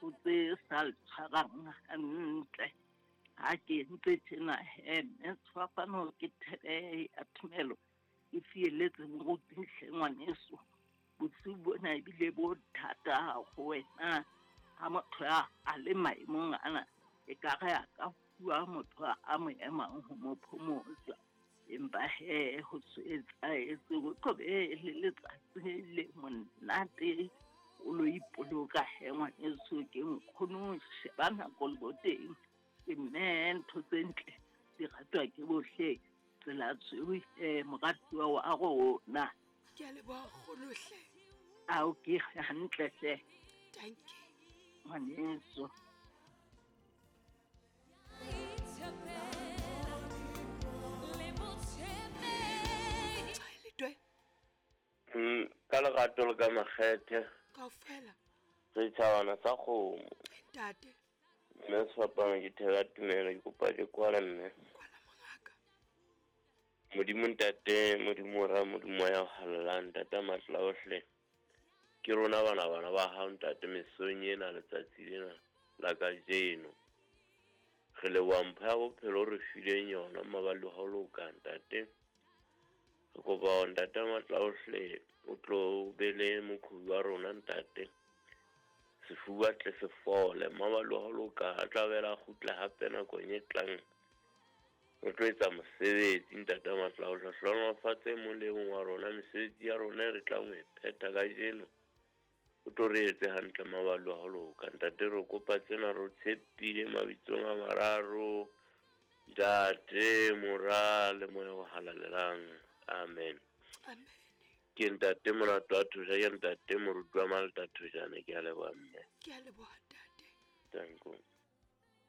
Ho tse sa le tshwarang hantle. Ha ke entse tjena he mme sefapano ke thebe ya tumelo e fieletse moruti hle ngwaneso. Bosiu bona ebile bo thata ho wena ha motho a le maemong ana e ka re a ka fuwa motho a mo emang ho mo phomotsa. Empa he ho so etsahetse ho tlo be le letsatsi le monate o lo ipoloka he ngwaneso ke nkgono sheba nako le boteng ke mme ntho tse ntle di ratwa ke bohle tsela tshweu he moratuwa wa rona. Ke a leboha kgolo hle. Ao ke hantle hle. Dankie. Ngwaneso. Ka lerato le ka makgethe. Kaofela. Setjhabana sa kgomo. Ntate. Mme sefapano ke theka tumelo ke kopa ke kwala mme. Kwala mongaka. Modimo ntate, Modimo Mora, Modimo Moya o halalelang, ntate matla ohle. Ke rona bana bana ba hao ntate mesong ena letsatsi lena la kajeno. Re leboha mpho ya bophelo o re fileng yona mabapi le ho loka ntate. Re kopa hore ntate matla ohle o tlo be le moqhobi wa rona ntate. Sefuba tle se fole mabapi le ho loka a tla bela kgutla hape nakong e tlang. Re tlo etsa mosebetsi ntate matla ohle. Hlohonolofatse e mong le e mong wa rona mesebetsi ya rona e re tlang ho e phetha kajeno. O tlo re etse hantle mabapi le ho loka ntate re kopa tsena re o tshepile mabitsong a mararo ntate mora le moya o halalelang amen. Amen. Ke ntate Molato wa Thosha, ke ntate moruti wa Malta Thoshane. Ke a leboha mme. Ke a leboha.